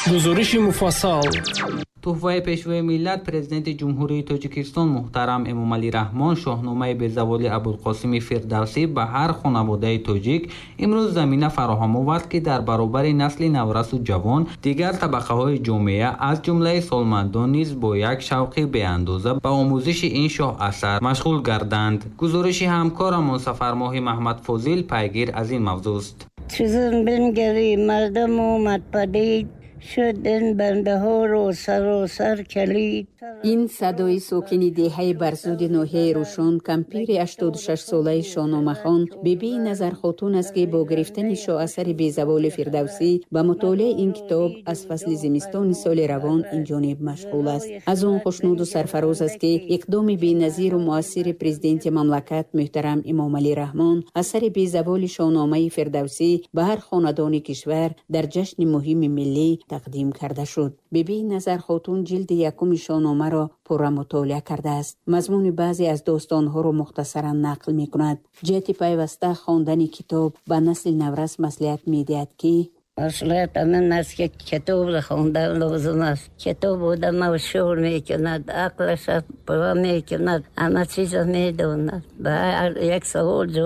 Гузориши муфассал. Туҳфаи Пешвои миллат, Президенти Ҷумҳурии Тоҷикистон муҳтарам Эмомалӣ Раҳмон, Шоҳномаи безаволи Абулқосими Фирдавсӣ ба ҳар хонаводаи тоҷик имрӯз замина фароҳам овард, ки дар баробари насли наврасу ҷавон дигар табақаҳои ҷомеа, аз ҷумлаи солмандон низ бо як шавқи беандоза ба омӯзиши ин шоҳасар машғул гарданд. Гузориши ҳамкорамон Сафармоҳи Маҳмадфозил пайгир аз ин мавзӯст. Чузун бингарӣ, мардум омад падид, шуд ин бандаҳоро саросар калид. Ин садои сокини деҳаи Барзуди ноҳияи Рӯшон, кампири 86-солаи шоҳномахон Бибии Назархотун аст, ки бо гирифтани шоҳасари безаволи Фирдавсӣ ба мутолиаи ин китоб аз фасли зимистони соли равон инҷониб машғул аст. Аз он хушнуду сарфароз аст, ки иқдоми беназиру муассири Президенти мамлакат муҳтарам Эмомалӣ Раҳмон, асари безаволи Шоҳномаи Фирдавсӣ ба ҳар хонадони кишвар дар ҷашни муҳими миллӣ тақдим карда шуд. Бибии Назархотун ҷилди якуми Шоҳномаро пурра мутолиа кардааст. Мазмуни баъзе аз достонҳоро мухтасаран нақл мекунад. Ҷиҳати пайваста хондани китоб ба насли наврас маслиҳат медиҳад, ки Маслиҳат ҳамин аст, ки китобро хондан лозим аст. Китоб одама ҳушёр мекунад, ақлаша пурра мекунад, ҳама чизро медонад, ба ҳар як савол ҷавоб.